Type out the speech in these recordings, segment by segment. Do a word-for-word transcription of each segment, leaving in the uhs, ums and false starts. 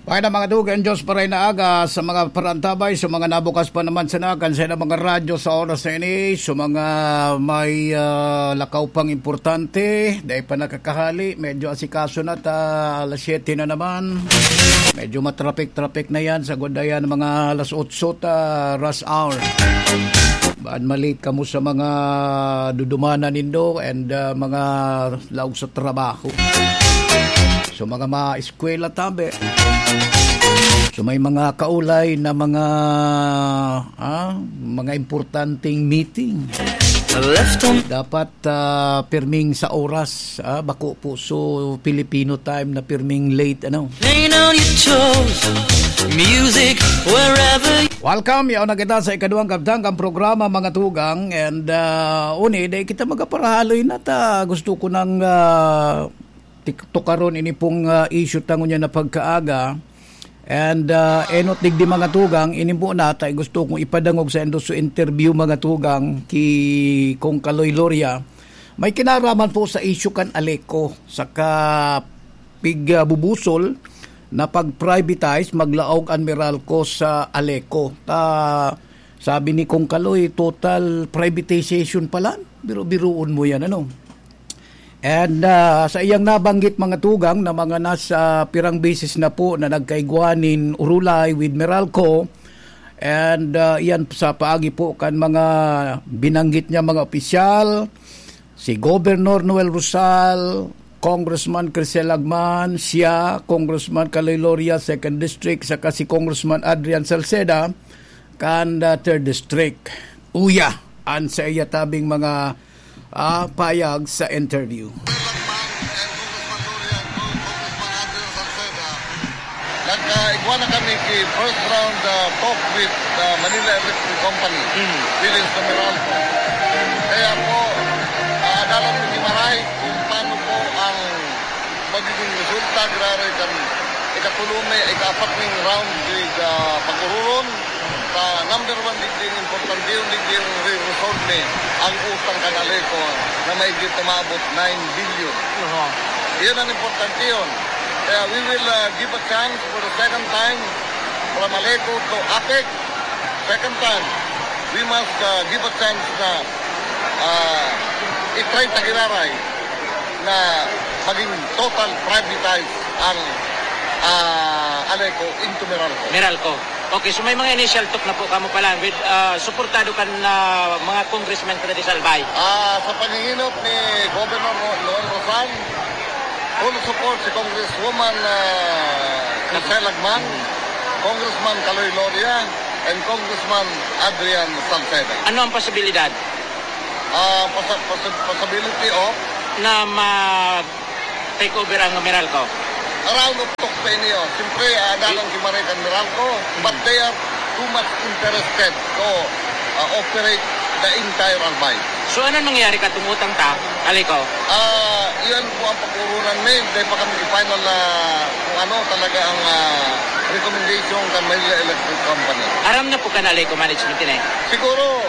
Kaya na mga dugang Diyos, paray na aga sa mga parantabay, sa mga nabukas pa naman sa nakan sa ilang mga radyo sa oras na ini, sa mga may ah, lakaw pang importante, dahil pa nakakahali, medyo asikaso na ta, alas siyete na naman. Medyo matraffic-traffic na yan, sa godayan mga alas otso ta rush hour. Baan malate kamo sa mga dudumanan nindo and ah, mga laog sa trabaho. So mga maeskwela tabi. So may mga kaulay na mga ah, mga importanteng meeting. Left on Dapat ah, pirming sa oras, ah, bako po so Filipino time na pirming late ano. Lay down your chores, music wherever. Welcome, yaon na kita sa ikaduhang kabtang kan programa, mga tugang, and ah, uni, dai kita magaparahaloy na ta. Gusto ko nang ah, tik- tukaron ini pong ah, issue ta ngunyan na pagkaaga. And ah, enot digdi, mga tugang, ini po na ta gusto kong ipadangog sa indo so interview, mga tugang, ki Kong Kaloy Loria. May kinaraman po sa issue kan Aleco, saka pig ah, bubusol na pag-privatize, maglaog an Meralco sa Aleco. Ta Sabi ni Kong Kaloy, total privatization pala. Biro-biroon mo yan, ano? And ah, sa iyang nabanggit, mga tugang, na mga nasa pirang beses na po na nagkaigwa nin urulay with Meralco. And ah, iyan sa paagi po kan mga binanggit niya, mga opisyal, si Governor Noel Rosal, Congressman Crisel Agman, siya, Congressman Kaloy Loria, Second District, saka si Congressman Adrian Salceda, kan ah, Third District. Uya, an sa iya tabing mga ah, payag sa interview. Nagkaigwa na kami ki first round ah, talk with ah, Manila Electric Company, Mm. Philippines na Meralco. Kaya po, ah, dalan mi ni Maray kung paano po ang magiging resulta, giraray kan ikatulo mi, ikaapat ming round with ah, pag-ururon. Sa number one digdi, importante yun, digdi yung re-resolve mi ang utang kan Aleco na mahigit umaabot nine billion. Aha. Yun ang importante yun. Kaya we will ah, give a chance for the second time from Aleco to APEC. Second time, we must ah, give a chance na ah, i-try ta giraray na maging total privatize ang ah, Aleco into Meralco. Meralco. Okay, so may mga initial talk na po kamo pala with ah, suportado kan ah, mga congressmen kada sa Albay. Ah, sa panghihinot ni Governor Ro- Noel Rosal, full support si Congresswoman ah, Marcela Gman, Congressman Kaloy Loria, and Congressman Adrian Salceda. Ano ang posibilidad Ah, pasa- pasa- possibility of na ma take over ang Meralco? Around of talk pa niyo. Siyempre, ah, dalang ki Maray kan Meralco, but they are too much interested to ah, operate the entire Albay. So ano nangyari katong utang ta, Aleco? Ah, iyan po ang pag-urunan mi. Dahil pa kami final na kung ano talaga ang ah, recommendation kan Manila Electric Company. Aram na po kan Aleco management ini? Siguro,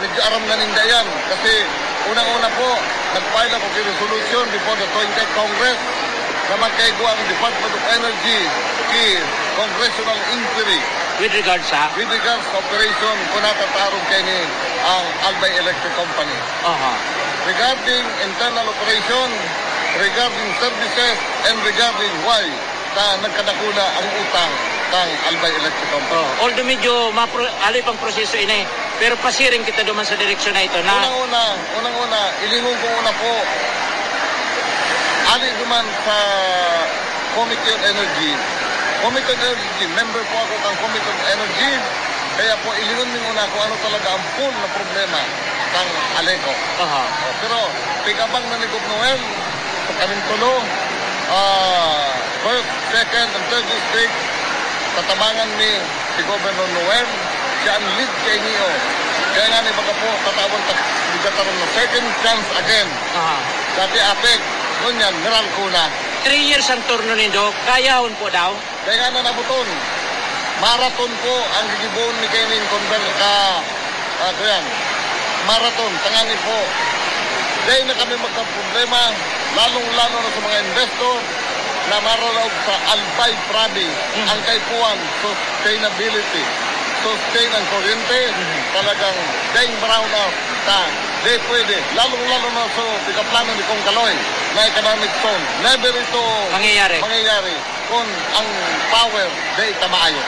medyo aram na ninda yan. Kasi unang-una po, nag-file ako ki resolution before the twentieth Congress na magkaigwa ang Department of Energy ki congressional inquiry With regards sa? With regards sa operation, kung natatarong kaini ang Albay Electric Company. Aha. Regarding internal operation, regarding services, and regarding why na nagkadakula ang utang kang Albay Electric Company. Oh, although medyo mapro-, haloy pang proseso ini, pero pasiring kita duman sa direksyon na ito na Unang-una, unang-una, ilingon ko una po, ali duman sa Committee on Energy. Committee on Energy, member po ako kang Committee on Energy. Kaya po, ilingon mi muna kung ano talaga ang full na problema kang Aleco. Aha. Oh, pero, pig-abang na ni Gov Noel, sa kaming tulo, ah, first, second, and third district, tatabangan mi si Governor Noel. Siya ang lead kaini, oh. Kaya nga ni baga po, tatawan ta, bigatan na second chance again. Aha. Dati APEC, ngunyan, Meralco na. Three years ang turno nindo, kayahon po daw? Kaya nga na nabuton. Marathon po ang gigibohon mi kaining conver-, ka, ah, kuyan. Marathon, tangani po. Dahil na kami magkaproblema, lalong-lalo na sa mga investor. Na maralaog sa Albay Province, ang kaipuhan, sustainability, sustain ang kuryente, talagang daing brownout ta, di pwede. Lalong-lalo na sa pikaplano ni Kong Kaloy na economic zone. Never ito Mangyayari. Mangyayari kung ang power di tamaayo.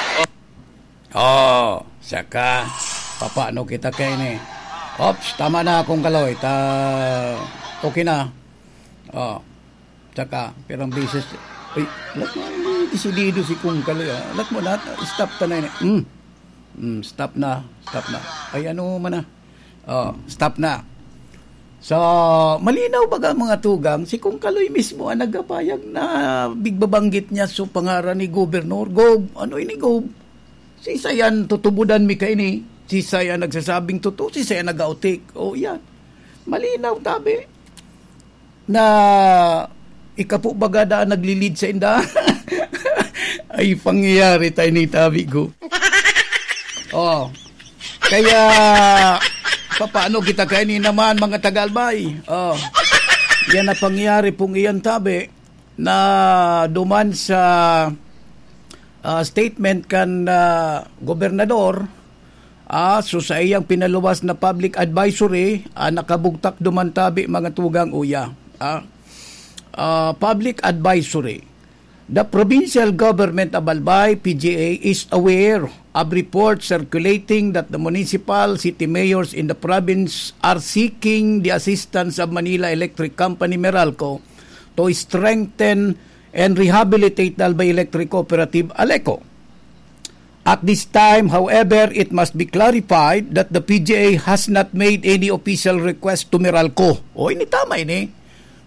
Oh, saka, papaano kita kaini? Ops, tama na, Kong Kaloy. Ta, okay na. Oh, saka, pirang beses. Uy, alat mo, desidido si Kong Kaloy, ah. Alat mo na, stop ta na ini. Hmm. Hmm, stop na, stop na. Ay, ano man na. Oh, stop na. So, malinaw baga, mga tugang, si Kong Kaloy mismo ang nagapayag na bigbabanggit niya sa pangaran ni Gobernador. Gob, ano ini, Gob? Sisay an tutubodan mi kaini? Sisay an nagsasabing totoo? Sisay an nag-autik? O, yan. Malinaw, tabi. Na ikapo baga daan naglilid sa inda. Ay, pangyayari tayo ni tabi ko. Oh. Kaya, papaano kita kaini naman, mga taga-Albay? Oh. Yan ang pangyayari pong iyan, tabi, na duman sa, ah, statement kan, ah, gobernador, ah, so sa iyang pinaluwas na public advisory, ah, nakabugtak duman tabi, mga tugang, uya. Ah, ah, public advisory. The provincial government of Albay, P G A, is aware of reports circulating that the municipal city mayors in the province are seeking the assistance of Manila Electric Company, Meralco, to strengthen and rehabilitate the Albay Electric Cooperative, ALECO. At this time, however, it must be clarified that the P G A has not made any official request to Meralco. O, ini tama ini.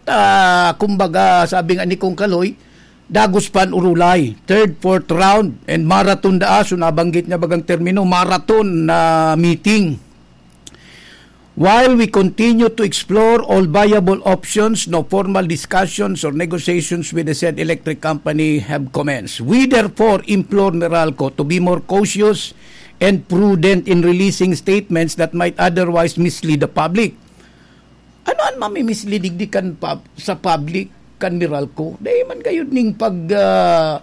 Ta, kumbaga, sabi nga ni Kong Kaloy, dagos pa an urulay. Third, fourth round, and marathon daa. So, nabanggit niya bagang termino, marathon na meeting. While we continue to explore all viable options, no formal discussions or negotiations with the said electric company have commenced. We therefore implore Meralco to be more cautious and prudent in releasing statements that might otherwise mislead the public. Ano an mamimislead digdi kan pub-, sa public kan Meralco? Dai man gayud ning pag, ah,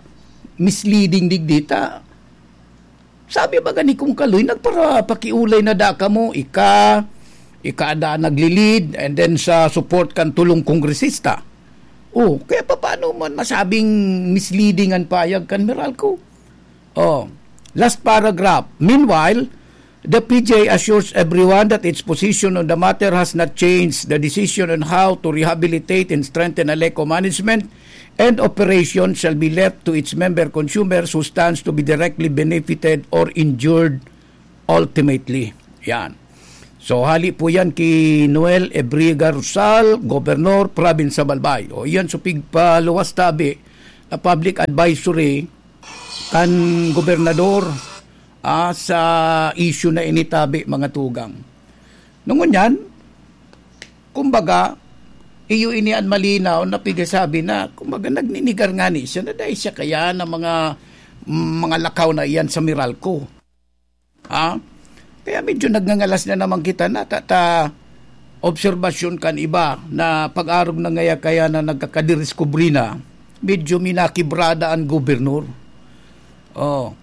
misleading digdi ta. Sabi baga ni Kong Kaloy, nagparapakiulay na da kamo, ika, ika da naglilid, and then sa support kan tulong kongresista. Oh, kaya papaano man masabing misleading an payag kan Meralco? Oh, last paragraph. Meanwhile, the P G A assures everyone that its position on the matter has not changed. The decision on how to rehabilitate and strengthen ALECO management and operation shall be left to its member consumers who stands to be directly benefited or injured ultimately. Yan. So, hali po yan ki Noel Ebriga Rosal, Gobernador, Province of Albay. O, yan, so pigpaluwas tabi na public advisory kan gobernador, ah, sa issue na ini tabi, mga tugang. Ngunyan, kumbaga, iyo ini an malinaw na pigasabi na, kumbaga, nagninigar ngani siya na dai siya kaya na mga, mga lakaw na iyan sa Meralco. Ha? Kaya medyo nagngangalas na naman kita na ta, ta obserbasyon kan iba na pag-arog na ngaya kaya na nagkakadiriskubre na, medyo minakibrada an gobernador. Oh.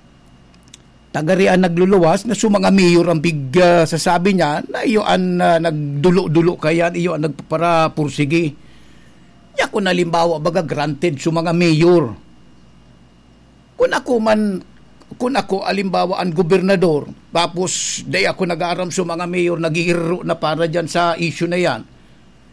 Tagari an nagluluwas na so mga mayor ang big, ah, sasabi niya na iyo an, ah, nagdulo-dulo kaya, iyo an nagpaparapursigi. Niya kung halimbawa, baga granted so mga mayor. Kung ako man, kung ako, halimbawa, ang gobernador, tapos dai ako nag-aaram sa mga mayor, naghihirro na para dyan sa issue na yan.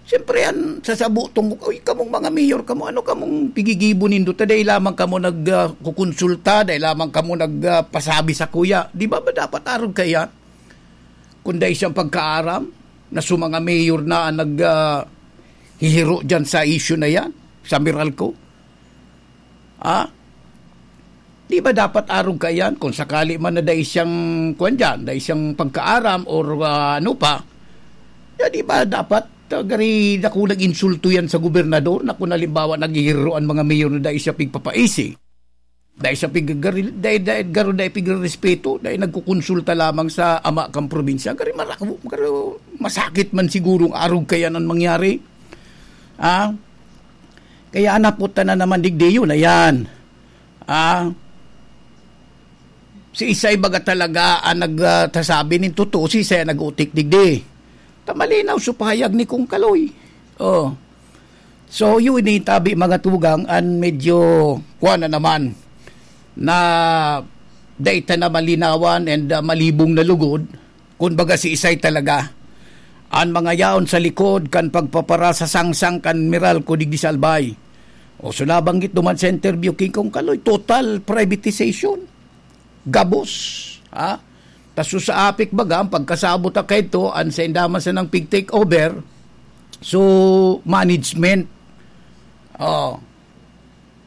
Siyempre, yan, sasabutong ko, "Uy, kamong mga mayor, kamo, ano kamong pigigibo nindo? Ta dai lamang kamo nag, ah, kukonsulta, dai lamang kamo nag, ah, pasabi sa kuya." Di ba, ba dapat arog kaya? Kung dai siyang pagkaaram, na sa mga mayor na ang nag, ah, hihiro dyan sa issue na yan, sa Meralco? Ha? Di ba dapat arog kaiyan kung sakali man na dai siyang, kuwan diyan, dai siyang pagkaaram or, ah, ano pa? Ya, di ba dapat, ah, gari dakong insulto yan sa gobernador na kung halimbawa naghihiro an mga mayor na dai siya pigpapaisi? Dai siya pig-, gari-, dai, dai, garo dai pigrerespeto, dai nagkukonsulta lamang sa ama kang probinsya. Gari marako, garo masakit man sigurong arog kaiyan an mangyari. Ah? Kaya an hapot ta na naman digdi, yun na yan. Ah, si isay baga talaga ang nag, ah, tasabi nin totoo, si isay ang nag-utik digdi. Ta malinaw sa pahayag ni Kong Kaloy. Oh. So, yun ni tabi mga tugang, an medyo kuwan na naman na dai ta na malinawan and, ah, malibong na lugod. Kun baga si isay talaga an mga yaon sa likod kan pagpapara sa sangsang kan Meralco digdi sa Albay. O, so nabanggit duman sa interview, King Kong Kaloy, total privatization. Gabos. Ha? Taso sa APEC baga, ang pagkasabot na kaito, an sa indaman sa nang pig-take over, so, management. Oh,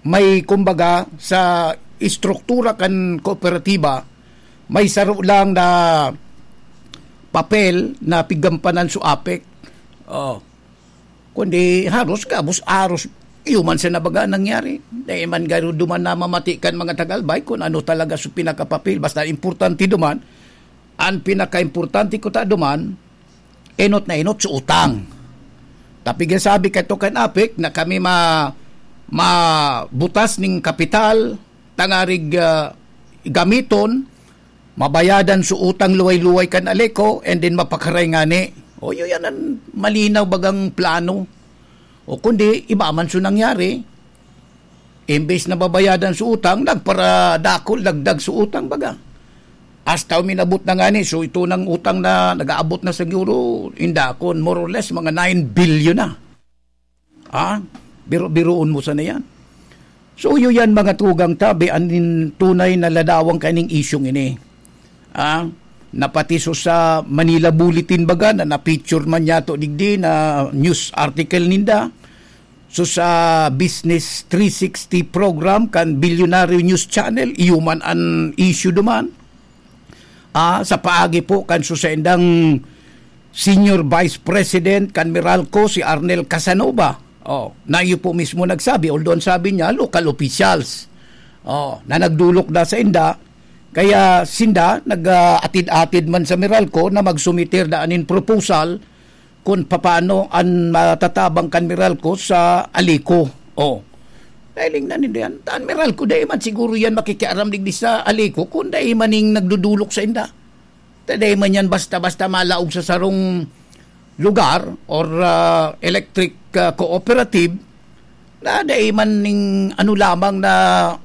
may kumbaga sa estruktura kan kooperatiba, may saro lang na papel na pigampanan sa APEC. Oh. Kundi haros gabos aros iyo man sa nabaga nangyari. Dai man garo duman na mamati kan mga taga-Albay kun ano talaga sa pinakapapel. Basta importante duman, ang pinakaimportante ko ta duman, enot na enot sa utang. Tapi sabi kato kan APEC na kami ma-, mabutas ning kapital, tangarig, ah, gamiton, mabayadan sa utang luway-luway kan Aleco, and then mapakaray ngani. O, yun yan ang malinaw bagang plano. O kundi, iba man so nangyari. Imbes na babayadan sa utang, nagparadakol, dagdag sa utang baga. Hasta uminabot na ngani, so ito nang utang na nag-aabot na siguro, inda akon, more or less, mga nine billion na. Ah, biro-biroon mo sana yan. So, iyo yan, mga tugang tabi, an tunay na ladawang kaning isyung ini. Ah, napati so sa Manila Bulletin baga na na-feature man yato digdi na news article ninda. So sa Business three sixty program kan Bilyonaryo News Channel, iyo man an issue duman. Ah, sa paagi po kan susaindang Senior Vice President kan Meralco, si Arnel Casanova. Oh, na iyo po mismo nagsabi, although ang sabi niya, local officials. Oh, na nagdulok na sa inda, kaya sinda nag-atid-atid man sa Meralco na magsumiter da anin proposal kung papaano an matatabang kan Meralco sa Aleco. Oh. Dahil ingnan nindo yan. Taan Meralco, dai man siguro yan makikiaram digdi sa Aleco kung dai man ning nagdudulok sa inda. Ta dai man yan basta-basta malaog sa sarong lugar or, ah, electric, ah, cooperative na dai man ning ano lamang na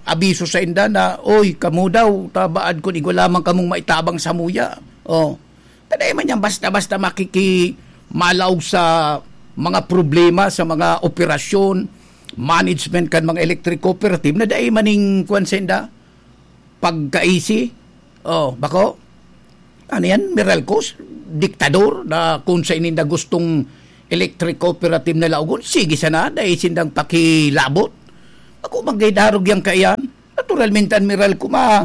abiso sa inda na, "Oy, kamo daw, tabaad kun igwa lamang kamong maitabang samuya." Oh. Ta dai man yan basta-basta makiki-, malaog sa mga problema, sa mga operasyon, management kan mga electric cooperative na dai man ning kwan sa inda, pagkaisi. Oh, bako? Ano yan? Meralco? Diktador na kung sa ininda gustong electric cooperative na laogon, sige sana, dai sindang pakilabot. Ako magkaidarog yan kaiyan. Naturalmente, an Meralco ma-,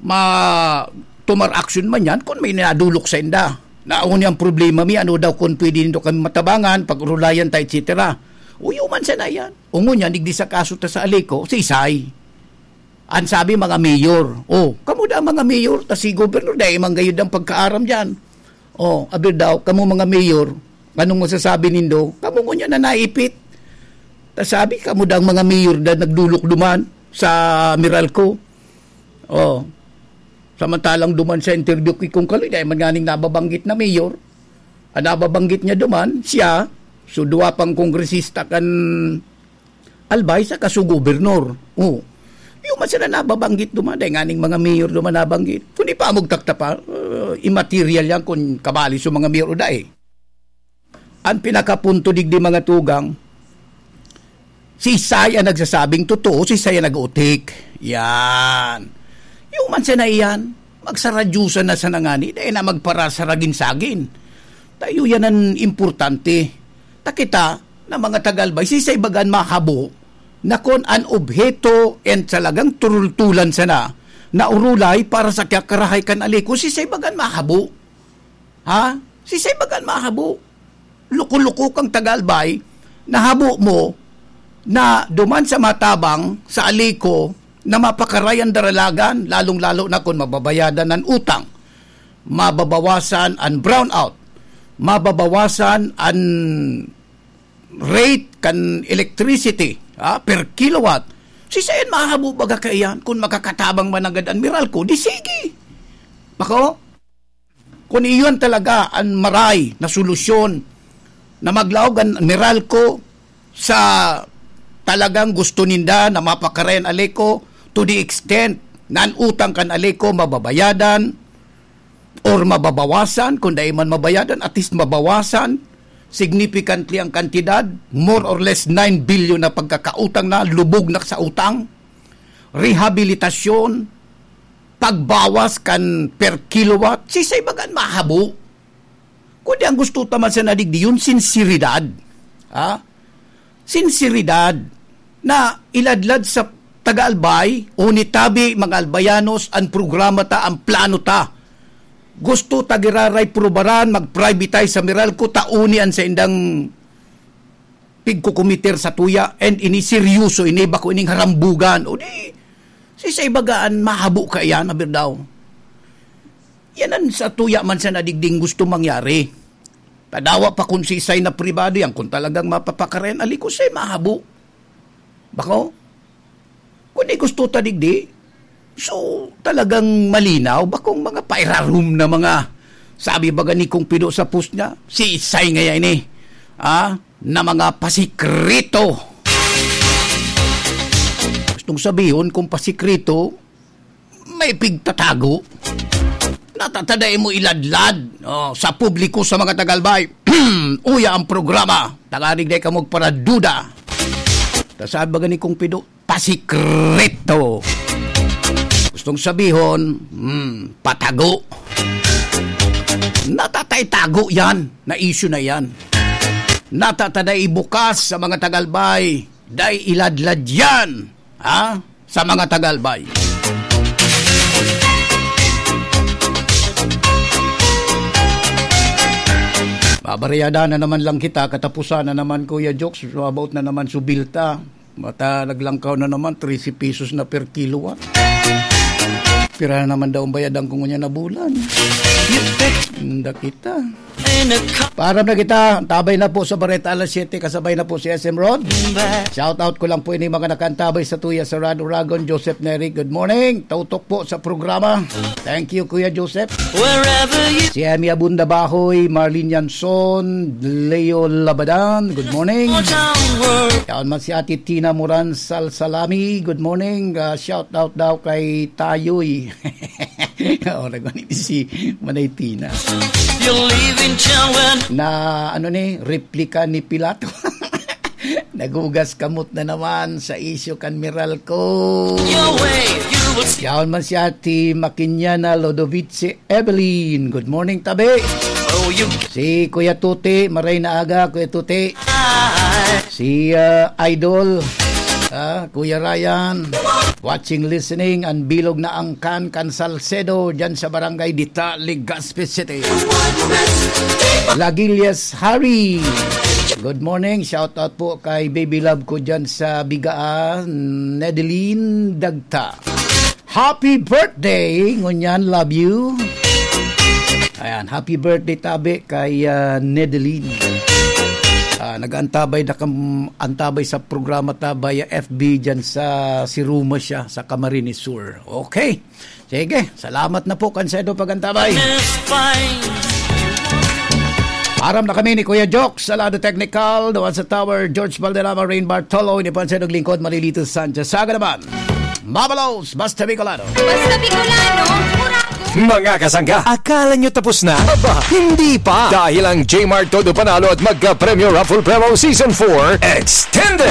ma-, tumar action man yan kung may nadulok sa inda. Na, "Ako niyang problema mi, ano daw kung pwede nindo kami matabangan, pag-urulayan ta, et cetera." Uyo man sana yan. Ungon yan, digdi sa kaso ta sa Aleco, si Isay. An sabi, mga mayor. Oh, kamo da mga mayor, ta si gobernador, dai man gayud ang pagkaaram diyan. Oh, abir daw, kamo mga mayor, anong masasabi nindo? Kamo ngunyan na naipit. Ta sabi, kamo da ang mga mayor na nagdulok duman sa Meralco. Oh, samantalang duman sa interview ki Kong Kaloy, dai man nganing nababanggit na mayor. Ang nababanggit niya duman, siya, so duwa pang kongresista kan Albay saka su gobernador. Oh. Iyo man sila nababanggit duman, dai nganing mga mayor duman nabanggit. Kundi pa magtakta pa, uh, immaterial yan kung kabali sa mga mayor o dai. Ang pinakapunto digdi, mga tugang, si Isay ang nagsasabing totoo, si Isay ang nag-uutik. Yan. Iyo man sana iyan, magsaradyusan na sana ngani, dai na magparasaragin-sagin. Tayo yan ang importante. Ta kita na mga taga-Albay, si Isay bagan mahabo na kun an obheto and talagang turultulan sana na urulay para sa kiyakarahay kan Aleco, si Isay bagan mahabo. Ha? Si Isay bagan mahabo. Loko-loko kang taga-Albay, nahabo mo na duman sa matabang, sa Aleco, na mapakaray an daralagan, lalong-lalo na kun mababayadan an utang, mababawasan an brownout, mababawasan an rate kan electricity, ah, per kilowatt, siisay an mahabo baga kaiyan kun makakatabang man nanggad an Meralco? Di sige. Bako, kun iyon talaga an maray na solusyon na maglaog an Meralco sa talagang gusto ninda na mapakarayan Aleco to the extent na an utang kan Aleco mababayadan or mababawasan, kung dai man mabayadan, at least mabawasan significantly ang kantidad, more or less nine billion na pagkakautang na, lubog na sa utang, rehabilitasyon, pagbawas kan per kilowatt, siisay baga an mahabo? Kundi ang gusto ta man sa nadigdi, yun, sinseridad. Ha? Sinseridad na iladlad sa taga-Albay, o nitabi, mga Albayanos, ang programa ta, ang plano ta. Gusto ta giraray prubaran, mag-privatize sa Meralco, ta uni an saindang pigkukumiter sa tuya, and ini seryoso ini, bako ining harambugan. O di, siisay baga an mahabo kaiyan, aber daw. Yan an sa tuya man sa nadigding gusto mangyari. Tadawa pa kung siisay na pribado yan, kung talagang mapapakarayan, alikosay mahabo. Bako? Kung di gusto ta digdi, so, talagang malinaw, bakong mga pairarom na mga, sabi baga ni Kong Pido sa post niya, siisay ngaya ini, ah, na mga pasikreto. Gustong sabihon, kung pasikreto, may pigtatago. Natatada mo iladlad, oh, sa publiko, sa mga taga-Albay. Uya ang programa. Tagarig na ikaw magparaduda. Ta sabi baga ni Kong Pido, pasikreto. Gustong sabihon, hmm, patago. Natatay tago yan, na issue na yan. Natatay ibukas sa mga taga-Albay, dai iladlad yan, ha? Sa mga taga-Albay. Babariyada na naman lang kita, katapusan na naman, Kuya Jokes, about na naman subilta. Mata naglangkaw na naman, trese pesos na per kilowatt. Pira na naman daw ang bayadan ko ngunyan na bulan. Nda kita. Param na kita, tabay na po sa Bareta alas siyete, kasabay na po si S M Rod. Shout out ko lang po ini mga nakantabay sa tuya sa Rad Uragon, Joseph Neri, good morning. Tutok po sa programa. Thank you, Kuya Joseph. Si Emmy Abunda Bahoy, Marlene Yanson, Leo Labadan, good morning. Yaon man si Ate Tina Moran Salsalami, good morning. Ah, shout out daw kay Tayoy. Oo, nagmani si Manay Tina. Na, ano ni, replika ni Pilato. Naghugas kamot na naman sa isyu kan Meralco. Yaon man si Ate Makinyana Lodovice Evelyn. Good morning, tabi. Si Kuya Tuti, maray na aga, Kuya Tuti. Si, ah, Idol, ah, Kuya Ryan, watching, listening, ang bilog na angkan kan Salcedo, dyan sa Barangay Dita, Legazpi City. Lagilias Harry, good morning. Shout out po kay baby love ko dyan sa Bigaa, Nedeline Dagta. Happy birthday, ngunyan, love you. Ayan, happy birthday, tabi, kay, ah, Nedeline. Ah, nag-antabay na kam-, antabay sa programa ta via F B dyan sa, si Ruma siya, sa Camarines Sur. Okay. Sige, salamat na po, Kansedo, pag-antabay. Aram na kami ni Kuya Jokes, sa lado technical, doon sa tower, George Valderrama, Rain Bartolo, ini po ang sa lingkod, Malilito Sanchez. Saga naman, Mabalos, basta Bicolano. Basta Bicolano, Murago. Mga kasangga, akala nyo tapos na? Aba, hindi pa. Dahil ang J-Mart Todo Panalo at Magka-Premyo Raffle Promo Season four Extended.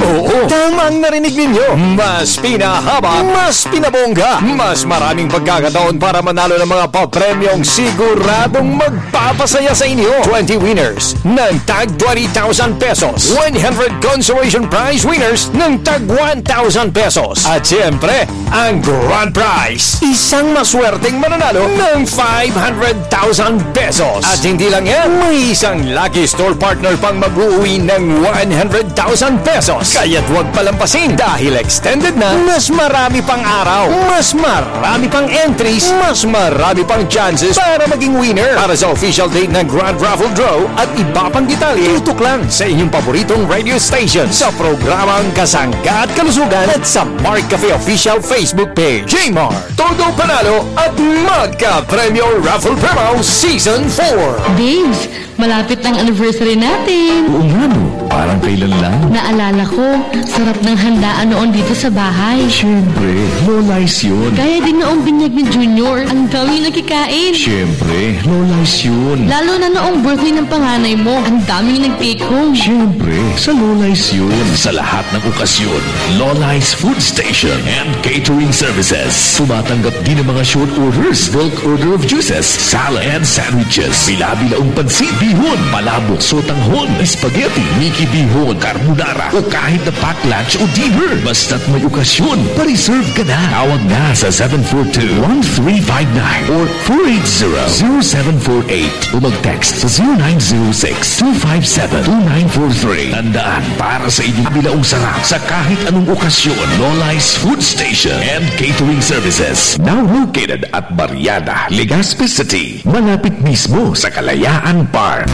Oo, tama ang narinig ninyo. Mas pinahaba, mas pinabongga, mas maraming pagkakataon para manalo ng mga papremyong siguradong magpapasaya sa inyo. Twenty winners ng tag twenty thousand pesos. One hundred consolation prize winners ng tag one thousand pesos. At siyempre, ang grand prize, isang maswerteng mananalo ng five hundred thousand pesos. At hindi lang yan, may isang lucky store partner pang mag-uwi ng one hundred thousand pesos. Kaya't huwag palampasin dahil extended na, mas marami pang araw, mas marami pang entries, mas marami pang chances para maging winner. Para sa official date ng Grand Raffle Draw at iba pang detalye, tutok lang sa inyong paboritong radio station sa programang Kasangga at Kalusugan at sa Mark Cafe Official Facebook page. Jmar, todo panalo at magka-premyo Raffle Promo Season four. Babes, malapit na ang anniversary natin. Oo nga no, parang kailan lang. Naalala ko, sarap ng handaan noon dito sa bahay. Siyempre, Lola's yun. Kaya din noong binyag ni Junior, ang daming nakikain. Siyempre, Lola's yun. Lalo na noong birthday ng panganay mo, ang daming nag-take home. Siyempre, sa Lola's yun. Sa lahat ng okasyon, Lola's Food Station and Catering Services. Tumatanggap din ng mga short orders, bulk order of juices, salad and sandwiches. Bila-bilaong pansit, bihon, palabok, sotanghon, spaghetti, miki bihon, carbonara, o kahit na pack lunch o dinner. Basta't may okasyon, pa-reserve ka na. Tawag na sa seven four two, one three five nine or four eight zero, zero seven four eight o mag-text sa zero nine zero six, two five seven, two nine four three. Tandaan, para sa inyong bilaong sarap sa kahit anong okasyon, Lola's Food Station and Catering Services. Now located at Barriada, Legazpi City. Malapit mismo sa Kalayaan Park.